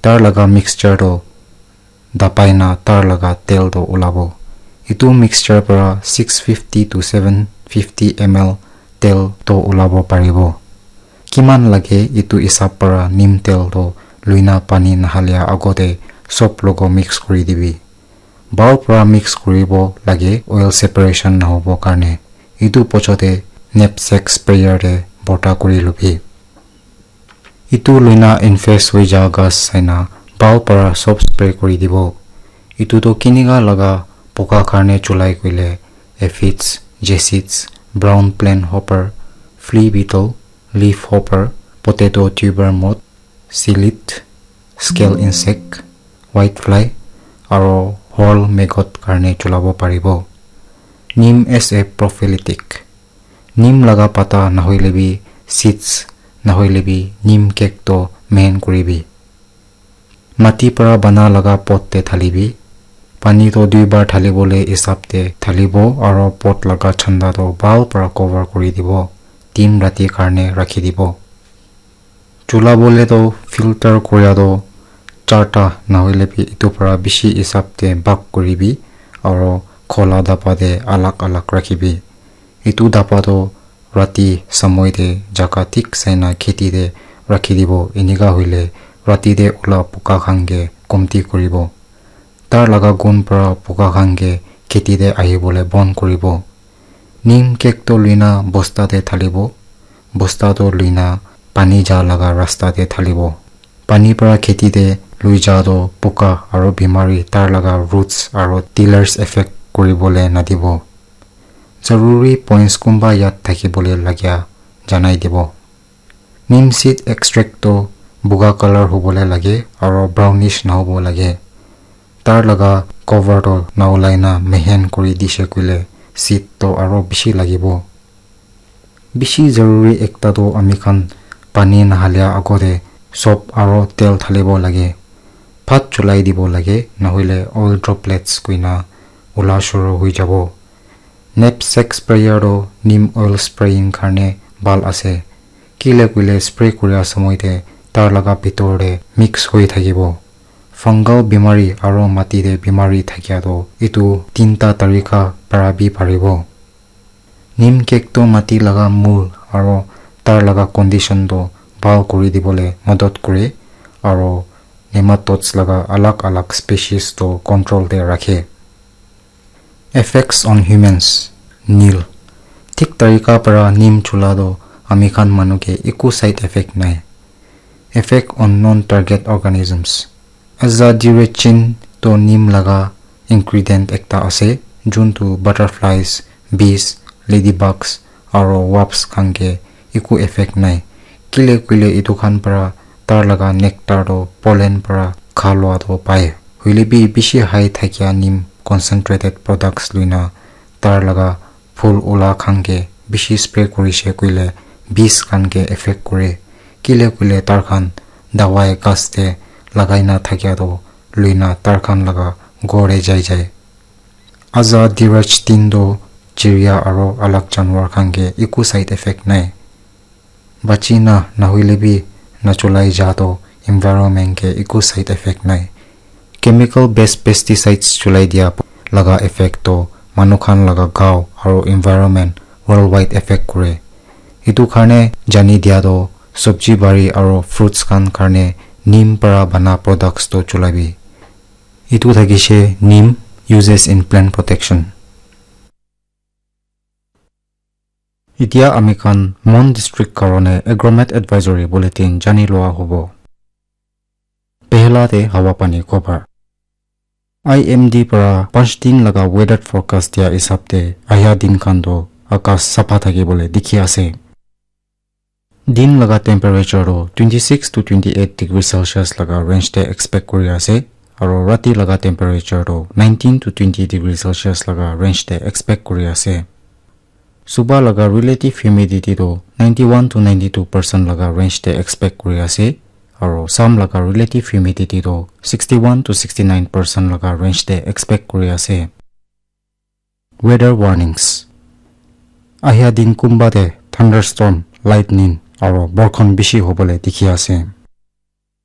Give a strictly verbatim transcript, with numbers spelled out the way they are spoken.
Tar laga mixture toh dabai na tar laga tel toh ulabo. Etu mixture para six fifty to seven fifty M L tel toh ulabo paribo. Kiman lage etu hisab para neem tel toh luina pani nahalia agote sob logo mix kuri dibi. Bhal para mix kuribo lage oil separation nahobo karne. Etu pochote knapsack sprayer te borta kuri lubi. Etu luina infest hoi ja ghas saina bhal para sob spray kuri dibo. Etu toh kinika laga poka karne chulai koile aphids, jesseeds, brown plant hopper, flea beetle, leaf hopper, potato tuber moth, psyllid, scale insect, whitefly, aro whorl maggot karne chulabo paribo. Neem as a prophylactic. Neem laga pata nahoile bi seeds nahoile bi neem cake toh main kuribi. Mati para bana laga pot te thalibi. Pani toh dui bar thalibole hisab te thalibo aro pot laga chanda toh bhal para cover kuri dibo. Tin rati karne rakhi dibo. Chulabole toh filter kuria toh charta nahoile bi etu para bishi hisab te bhag kuribi aro khola daba te alag alag rakhibi. Etu daba toh rati samoi te jaga thik saina kheti te rakhi dibo. Enika hoile rati te ula poka khan ke komti kuribo. Tar laga gun para poka khan ke kheti te ahibole bon kuribo. Neem cake toh luina bosta te thalibo. Bosta toh luina pani ja laga rasta te thalibo. Pani para kheti te lui ja toh poka aro bimari tar laga roots aro tillers affect kuribole nadibo. Zaruri points kunba yad thakibole lagia janai dibo. Neem seed extract toh buga color hobole lage aro brownish nahobo lage. Tar laga cover toh naulai na mehen kuri dishe koile seed toh aro bishi lagibo. Bishi zaruri ekta toh ami khan pani nahalia agote sob aro tel thalibo lage. Bhat chulai dibo lage, nahoile oil droplets kuina ula shuru hoi jabo. Knapsack sprayer toh neem oil spraying karne bhal ase. Kile koile spray kuria samoi te tar laga bitor te mix hoi thakibo. Fungal bimari aro mati te bimari thakia toh etu tinta tarika para bi paribo. Neem cake toh mati laga mul aro tar laga condition toh bhal kuri dibole madad kure aro nematodes laga alag alag species toh control te rakhe. Effects on humans, nil. Thik tarika para neem chula toh ami khan manu ke eku side effect nai. Effect on non-target organisms. Azadirachtin toh neem laga ingredient ekta ase, juntu butterflies, bees, ladybugs, aro wasps khan ke eku effect nai. Kile koile etu khan para tar laga nectar toh pollen para kha lua toh pai. Hoile bi bishi high thakia neem concentrated products luina tar laga phul ula khan ke bishi spray kurishe koile bees khan ke effect kure. Kile koile tar khan dawai ghas te lagai na thakia toh luina tar khan laga ghor te jai jai. Azadirachtin toh chiria aro alag janwar khan ke eku side effect nai. Bachi na nahoile bi nachulai ja toh environment ke eku side effect nai. Chemical based pesticides chulai dia laga effect toh manu khan laga gao aro environment worldwide effect kure. Etu karne jani dia toh sabji bari aro fruits khan karne neem para bana products toh chulabi. Etu thakishe neem uses in plant protection. Etia ami khan Mon District karone Agromet Advisory Bulletin jani loa hobo. Pehla te hawa pani khobor. I M D para panch din laga weather forecast dia hisab te ahia din khan toh akas sapha thaki bole dikhi ase. Din laga temperature toh twenty six to twenty eight degree Celsius laga range te expect kuri ase, aro rati laga temperature toh nineteen to twenty degree Celsius laga range te expect kuri ase. Suba laga relative humidity toh ninety one to ninety two percent laga range te expect kuri ase, aro sam laga relative humidity toh sixty one to sixty nine percent laga range te expect kuri ase. Weather warnings. Ahia din kunba te thunderstorm, lightning, aro borkhon bishi hobole dikhi ase.